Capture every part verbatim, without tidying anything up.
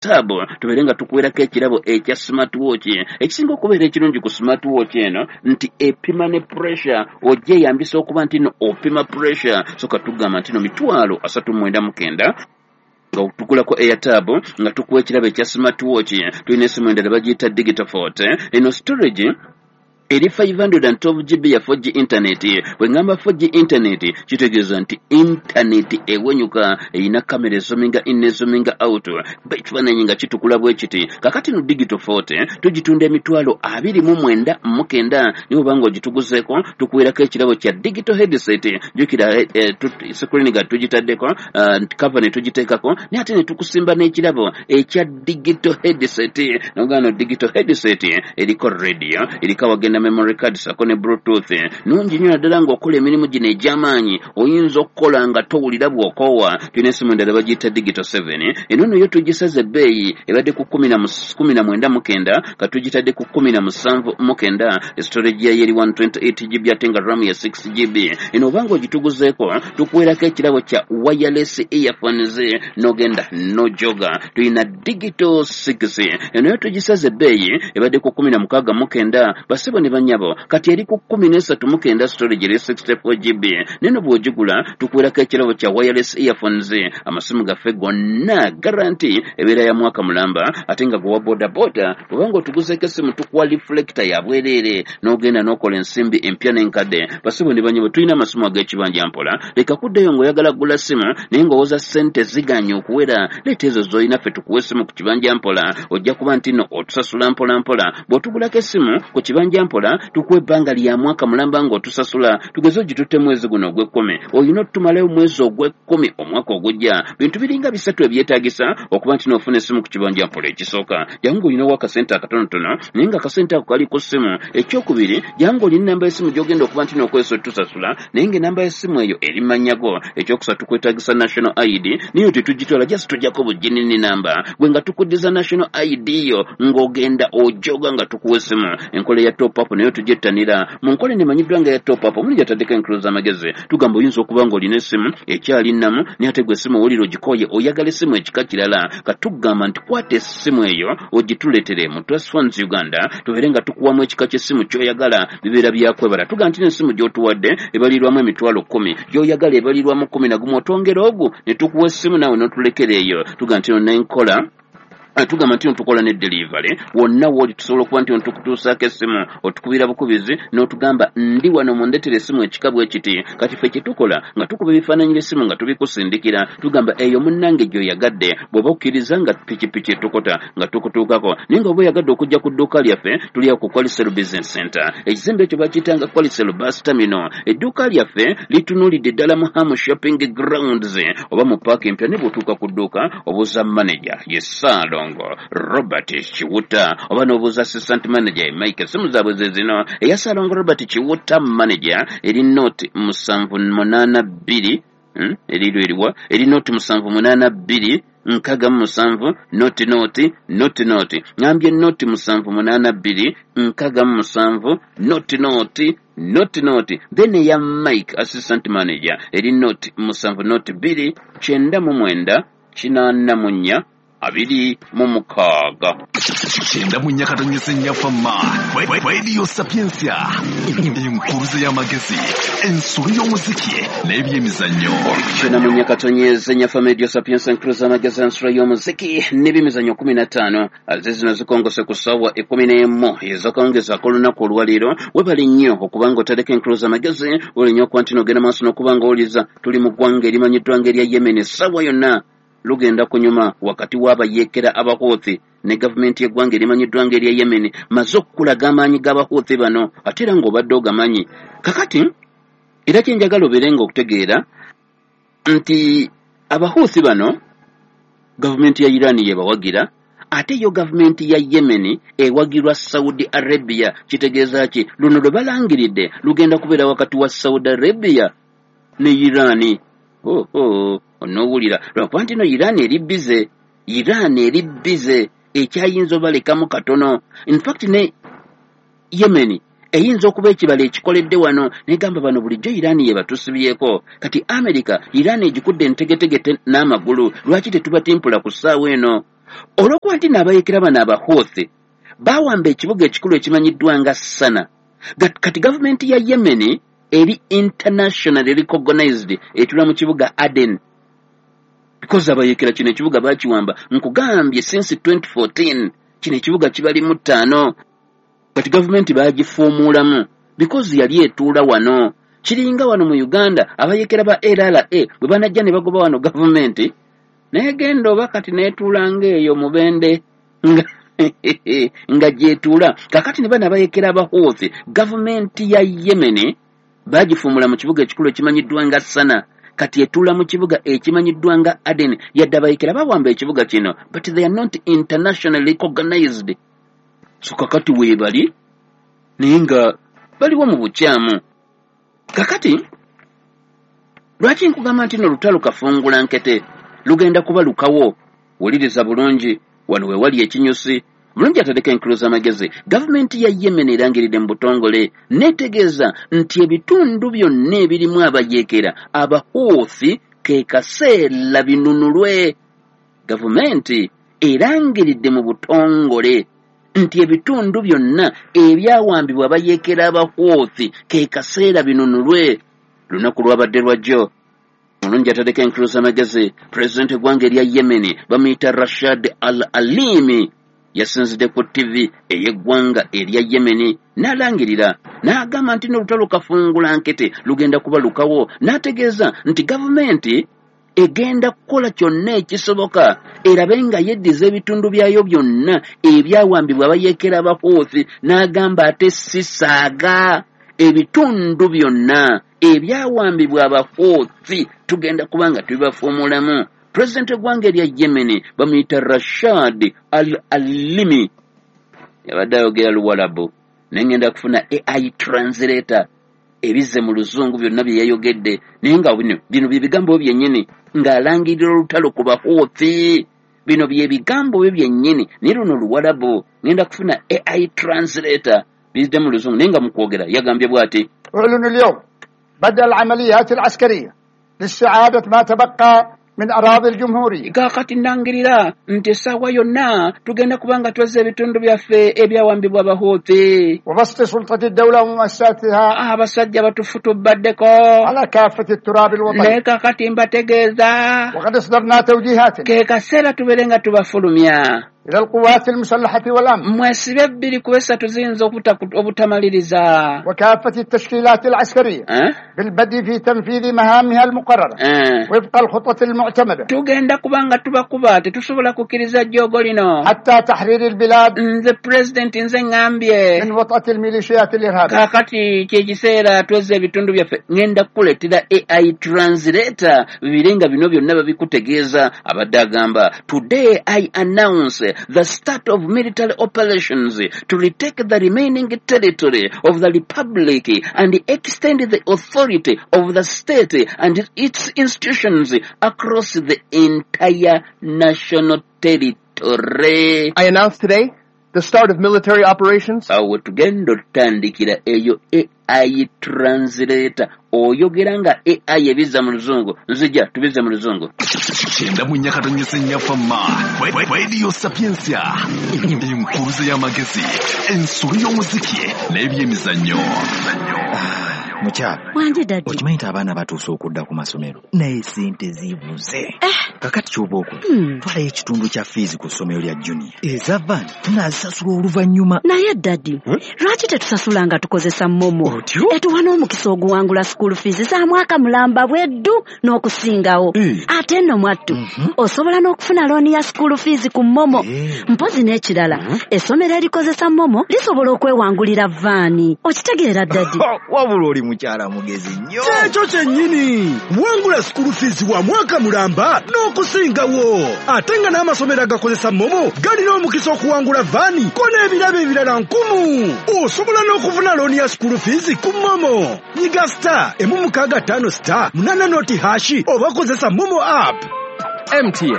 Tab tubeere nga tukuweerako ekirabo ekya smartwatch. Ekisinga okubeera ekirungi ku smartwatch eno nti epima ne pressure, ogyeyambisa okuba nti no opima pressure. So katugamba nti no mitwalo asatu mwenda mukenda nga tugulako Airtab nga tukuwa ekirabo ekya smartwatch. Tulina esimu endala bagiyita Digital Forte. Eno storage eri five hundred twelve G B ya four G internet. Bwe ngamba four G internet kitegeeza nti internet ewenyuka, erina kamera ezominga in n'ezominga out, ekifaananyi nga kitukula bwe kiti. Kakati no Digital Forte tugitunda emitwalo abiri mu mwenda mu kenda, naye oba ng'ogituguzeeko tukuweerako ekirabo kya digital headset. Jjukira eh, screen nga tugitaddeko, uh, cover ne tugiteekako, naye ate ne tukusimba n'ekirabo ekya digital headset. Nogamba no digital headset eriko radio, eriko awagenda memory card sako ne bluetooth. Nungi nnyo naddala ng'okola emirimu gino egy'amaanyi, oyinza okukola nga towulira bw'okoowa. Tulina esimu endala bagiyita Digital seven. Eno nno yo tugisaze ebbeeyi, ebadde ku kumi na mwenda mu kenda, ka tugitadde ku kumi na musanvu mu kenda. Storage yayo eri one twenty-eight G B ate nga RAM ya six G B. Eno obanga ogituguzeeko tukuweerako ekirabo kya wireless earphones n'ogenda n'ojoga. Tulina Digital six. Eno yo tugisaze ebbeeyi, ebadde ku kumi na mukaaga mu kenda, basebo ne banyabo, kati eri ku kumi n'esatu mu kenda, storage eri sixty-four G B. Neno bw'ogigula tukuweerako ekirabo kya wireless earphones. Amasimu gaffe gonna guarantee ebeera ya mwaka mulamba, ate nga gwe wa boda boda bw'obanga otuguzeeko essimu tukuwa reflector ya bwereere n'ogenda n'okola ensimbi empya n'enkadde. Basebo ne banyabo, tulina amasimu ag'ekibanja mpola. Leka kuddayo ng'oyagala kugula ssimu naye ng'owoza ssente ziganye okuwera, leeta ezo z'olina ffe tukuwe essimu ku kibanja mpola. Ojja kuba nti nno otusasula mpola mpola. Bw'otugulako essimu ku kibanja mpola tukuwa ebbanga lya mwaka mulamba ng'otusasula. Tugeze ogitutte mwezi guno ogw'ekkumi, olina otutumalayo mwezi ogw'ekkumi omwaka ogujja. Bintu biringa bisatu ebyetaagisa okuba nti n'ofuna essimu ku kibanja mpola. Ekisooka, jangu olinawo akasente akatonotono naye nga akasente ako kali ku ssimu. Ekyokubiri, jangu olina ennamba y'essimu gy'ogenda okuba nti n'okozesa otusasula naye ng'ennamba y'essimu eyo eri mannyago. Ekyokusatu, kwetaagisa national I D, naye tetugitwala, just tujjako buginini namba gwe nga tukuddiza national I D yo ng'ogenda ojoga nga tukuwa essimu. Enkola ya top up nayo tugyettanira. Mu nkola eno emanyiddwa nga ya top up, omuli gyataddeko enkulu z'amagezi. Tugamba oyinza okuba ng'olina essimu ekyali nnamu naye ate gwe essimu owulira ogikooye, oyagala essimu ekika kirala. Katugamba nti kwata essimu eyo ogituleetere mu Trust Funds Uganda, tubeere nga tukuwamu ekika ky'essimu ky'oyagala, bibeera byakwebala. Tugamba nti n'essimu gy'otuwadde ebalirwamu emitwalo kkumi, gy'oyagala ebalirwamu kkumi na gumu, otwongera ogu ne tukuwa essimu naawe n'otulekera eyo. Tugamba nti no n'enkola tugamba nti tukola ne delivery wonna w'oli, tusobola okuba nti tukutuusaako essimu, otukubira bukubizi n'otugamba ndi wano mundeetere essimu ekika bwe kiti. Kati ffe kye tukola nga tukuba ebifaananyi by'essimu nga tubikusindikira, tugamba eyo munnange gy'oyagadde, bw'oba okkiriza nga pikipiki etukota nga tukutuukako. Naye nga oba oyagadde okujja ku dduuka lyaffe, tuli awo ku Qualicel Business Center. Ekizimbe ekyo bakiyitanga Qualicel Bus Terminal. Edduuka lyaffe litunuulidde ddala mu Ham Shopping Grounds oba mu paaka empya. Ne bw'otuuka ku dduuka obuuza manager ye Ssaalongo Robert Kiwuta oba n'obuuza assistant manager Mike. Essimu zaabwe ze zino: eya Ssaalongo Robert Kiwuta manager eri noti musanvu munaana bbiri, eriro eriwa eri noti musanvu munaana bbiri nkaga musanvu noti noti noti noti. Ngambye noti musanvu munaana bbiri nkaga musanvu noti noti noti noti. Then eya Mike assistant manager eri noti musanvu noti bbiri kyenda mu mwenda kinaana mu nnya abiri mu mukaaga. Kyenda mu nnya katonyeze nnya fama. Radio Sapientia, enkuruze y'amagezi, ensolo y'omuziki n'ebyemizannyo. Kyenda mu nnya katonyeze nnya fama, Radio Sapientia, enkuruze y'amagezi, ensolo y'omuziki n'ebyemizannyo kumi na ttaano. Aze zino zikongose ku ssaawa ekkumi n'emu ez'akawungeezi ak'olunaku olwaleero. Webale nnyo okuba nga otadeko enkuruze y'amagezi, webale nnyo okuba nti n'ogenda maaso n'okuba nga owuliriza. Tuli mu ggwanga erimanyiddwa ng'erya Yemen. Essaawa yonna lugenda kunyuma wakati w'abayeekera Abahouthi ne gavumenti y'eggwanga erimanyiddwa ng'erya Yemen. Maze okukulaga amaanyi g'Abahouthi bano, ate era ng'obadde ogamanyi. Kakati era kye njagala obeere ng'okutegeera nti Abahouthi bano gavumenti ya Iran yebawagira, ate yo gavumenti ya Yemen ewagirwa Saudi Arabia. Kitegeeza ki? Luno lwe balangiridde lugenda kubeera wakati wa Saudi Arabia ne Iran. Oh, oh. Onoowulira lwakuba nti no Iran eri bize, Iran eri bize ekyayinza obalekamu katono. In fact ne Yemen eyinza okuba ekibala ekikoledde wano negamba bano bulijjo Iran ye batusibyeko. Kati America Iran egikudde entegetegete n'amagulu, lwaki tetubatimpula ku ssaawa eno? Olw'okuba nti n'abayeekera bano Abahouthi bawamba ekibuga ekikulu ekimanyiddwa nga Sana, kati gavumenti ya Yemen eri internationally recognized etula mu kibuga Aden, because abayeekera kino ekibuga bakiwamba, nkugambye since twenty fourteen kino ekibuga kibalimu ttaano. Kati gavumenti bagifuumuulamu because yali etuula wano. Kiringa wano mu Uganda abayeekera ba L R A bwe banajja ne bagoba wano gavumenti, naye genda oba kati neetuulanga eyo Mubende nga nga gyetuula. Kakati ne bano abayeekera Abahouthi, gavumenti ya Yemen bagifuumula mu kibuga ekikulu ekimanyiddwa nga Sana, kati etuula mu kibuga ekimanyiddwa nga Aden. Yadde abayeekera bawamba ekibuga kino, but they are not internationally recognized. So kakati weebali naye nga baliwo mu bukyamu. Kakati lwaki nkugamba nti nno olutalo kafungula nkete lugenda kuba lukawo? Wuliriza bulungi, wano we wali ekinyusi bulungi atadeko enkulu z'amagezi. Gavumenti ya Yemen erangiridde mu butongole n'etegeeza nti ebitundu byonna ebirimu abayeekera Abahouthi ke kaseera binunulwe. Gavumenti erangiridde mu butongole nti ebitundu byonna ebyawambibwa abayeekera Abahouthi ke kaseera binunulwe. Lunaku lwabadde lwajjo. Mulungi atadeko enkulu z'amagezi, pulezidenti eggwanga erya Yemen bamuyita Rashad Al Alimi yasinzidde ku T V ey'eggwanga erya Yemen n'alangirira n'agamba nti n'olutalo kafungula nkete lugenda kuba lukawo, n'ategeeza nti gavumenti egenda kukola kyonna ekisoboka erabe nga yeddiza ebitundu byayo byonna ebyawambibwa abayeekera Abahouthi, n'agamba ate si saaga ebitundu byonna ebyawambibwa Abahouthi tugenda kuba nga tubibafuumulamu. Pulezidenti w'eggwanga erya Yemen bamuyita Rashad Al Alimi yabadde ayogera Luwalabu, naye ngenda kufuna A I translator ebizze mu luzungu byonna bye yayogedde, naye nga bino bino bye bigambo byennyini ng'alangirira olutalo ku Bahouthi. Bino bye bigambo bye byennyini, naye luno Luwalabu, ngenda kufuna A I translator bizze mu luzungu, naye nga mu kwogera yagambye bw'ati: أعلن اليوم بدء العمليات العسكرية لاستعادة ما تبقى من أراضي الجمهورية. Kaakati nnangirira nti essaawa yonna tugenda kuba nga twezza ebitundu byaffe ebyawambibwa Abahouthi وبسط سلطة الدولة ومؤسساتها abasajja batufutubaddeko على كافة التراب الوطني. Naye kaakati mbategeeza وقد اصدرنا توجيهات ke kaseera tubeere nga tubafulumya إلى القوات المسلحة والأمن mwesibe ebbiri ku esatu ziyinza obutamaliriza وكافة التشكيلات العسكرية أه؟ بالبدء في تنفيذ مهامها المقررة أه. وفق الخطة المعتمدة. Tugenda kuba nga tubakuba, tetusobola kukkiriza jjoogo lino حتى تحرير البلاد nze pulezidenti nze ŋŋambye من وطأة الميليشيات الإرهابية. Kaakati kyekiseera twezza ebitundu byaffe. Ŋŋenda kukuleetera A I translator bibire nga bino byonna babikutegeeza. Abadde agamba, today I announce the start of military operations to retake the remaining territory of the republic and extend the authority of the state and its institutions across the entire national territory. I announce today the start of military operations. Awo tugenda otutandikira eyo A I translator oyogera nga A I ebizza mu luzungu. Nzija tubizze mu luzungu. Kyenda mu nnya katonyese nnyafamma Radio Sapientia, enkuluze y'amagezi, ensulu y'omuziki n'ebyemizannyo. Mukyala wanje daddy, okimanyi nti abaana batuuse okudda ku masomero naye sente zibuze. Kakati ky'oba okola, twalayo ekitundu kya fiizi ku ssomero lya junior, eza van tunaazisasula oluvannyuma. Naye daddy, lwaki tetusasula nga tukozesa MoMo? Etuwa n'omukisa oguwangula school fees za mwaka mulamba bweddu n'okusingawo. Ate nno mwattu osobola n'okufuna looni ya school fees ku MoMo. Mpozi n'ekirala, essomero erikozesa MoMo lisobola okwewangulira vaani. Okitegeera daddy? Wabula oli mukyala mugezi nnyo. Kyekyo kyennyini, wangula school fees wa mwaka mulamba n'okusingawo. Ate nga n'amasomero agakozesa MoMo galina omukisa okuwangula vaani ko n'ebirabo ebirala nkumu. Osobola n'okufuna looni ya school fees ku MoMo. Nyiga star emu mukaaga ttaano star munaana noti hashi oba kozesa MoMo app. M T N.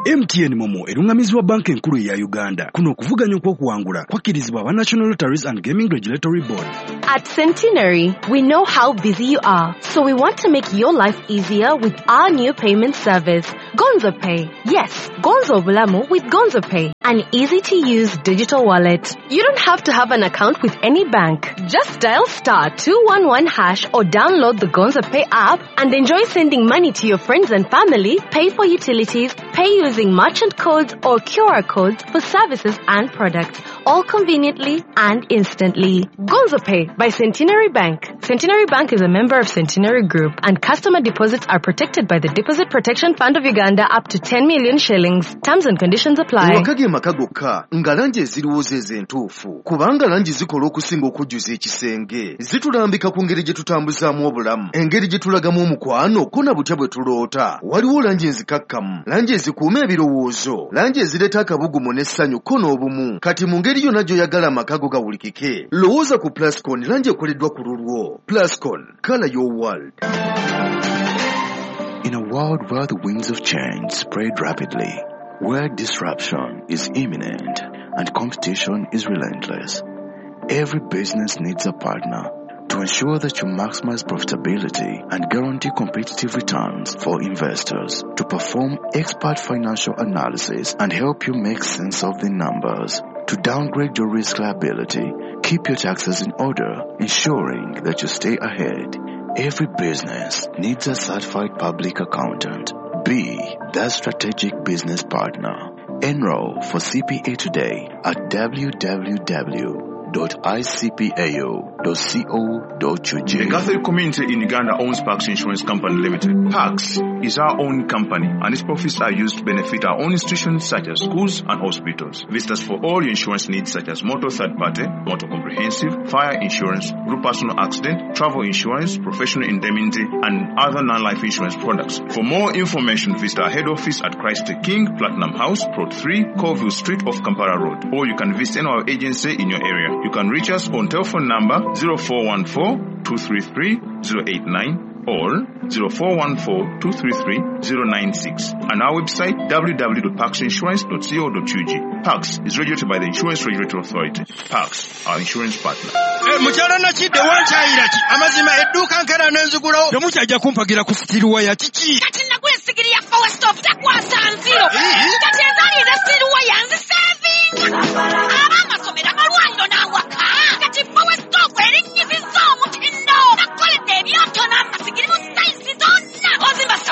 M T N MoMo erungamizibwa banka enkulu eya Uganda. Kuno okuvuganya okw'okuwangula kwakkirizibwa aba National Lotteries and Gaming Regulatory Board. At Centenary, we know how busy you are, so we want to make your life easier with our new payment service, Gonzo Pay. Yes, Gonzo Bulamu with Gonzo Pay, an easy-to-use digital wallet. You don't have to have an account with any bank. Just dial star two one one hash or download the Gonzo Pay app and enjoy sending money to your friends and family, pay for utilities, pay using merchant codes or Q R codes for services and products, all conveniently and instantly. Gonzo Pay by Centenary Bank. Centenary Bank is a member of Centenary Group, and customer deposits are protected by the Deposit Protection Fund of Uganda up to ten million shillings. Terms and conditions apply. Ewaka ge maka gokka nga langi eziriwo ze entuufu, kubanga langi zikola okusinga okujjuza ekisenge. Zitulambika ku ngeri gye tutambuzaamu obulamu, engeri gye tulagamu omukwano ko na butya bwe tuloota. Waliwo langi enzikakkamu, langi ezikuuma ebirowoozo, langi ezireeta akabugumu n'essanyu ko n'obumu. Kati mu ngeri yonna gy'oyagala amaka go gawulikike, lowooza ku Plascon, langi ekoleddwa ku lulwo. Plascon, color your world. In a world where the winds of change spread rapidly, where disruption is imminent and competition is relentless, every business needs a partner to ensure that you maximize profitability and guarantee competitive returns for investors, to perform expert financial analysis and help you make sense of the numbers, to downgrade your risk liability, keep your taxes in order, ensuring that you stay ahead. Every business needs a certified public accountant. Be that strategic business partner. Enroll for C P A today at w w w dot i c p a o dot co dot u g. The Catholic community in Uganda owns Pax Insurance Company Limited. Pax is our own company, and its profits are used to benefit our own institutions such as schools and hospitals. Visit us for all your insurance needs such as motor third party, motor comprehensive, fire insurance, group personal accident, travel insurance, professional indemnity, and other non-life insurance products. For more information, visit our head office at Christ the King, Platinum House, Plot three, Colville Street off Kampala Road, or you can visit any of our agency in your area. You can reach us on telephone number zero four one four, two three three, zero eight nine or zero four one four, two three three, zero nine six and our website w w w dot pax insurance dot co dot u g. Pax is regulated by the Insurance Regulatory Authority. Pax, our insurance partner. Mukyala Nakidde wankyayira ki? Amazima edduuka nkera n'enzigulawo. Temukyajja kumpagira ku sitiruwaya kiki? Kati nagula essigiri ya Power Stop takwasa nziro. Kati ezaali eza sitiruwaya nzisa